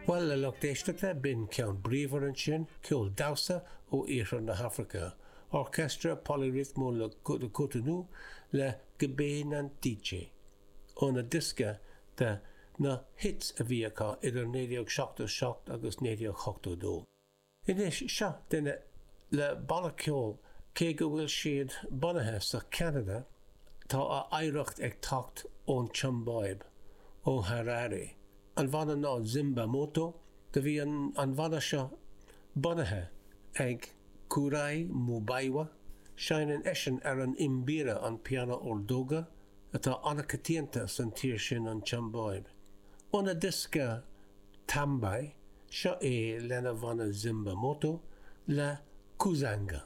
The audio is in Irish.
Bhuel, a lucht éisteachta, b'in ceann bríomhar ansin, ceol damhsa ó iarthar na hAfraice, Orchestra Poly-Rythmo de Cotonou le Gbé Nantiche, óna diosca de na hits a bhí acu idir 1977 agus 1982. Anois, seo duine le banna ceoil, cé go bhfuil siad bunaithe sa Cheanada, tá a oidhreacht ag teacht ón tSiombáib, ó Harare. An bhanna ná Zimba Moto. Do bhí an an bhanna seo bunaithe ag Kurai Mubaiwa. Seinneann eisean ar an mbira, an pianó ordóga, atá an-coitianta san tír sin, an tSiombáib. Óna diosca Tambai, seo é lena bhanna Zimba Moto le Kuzanga.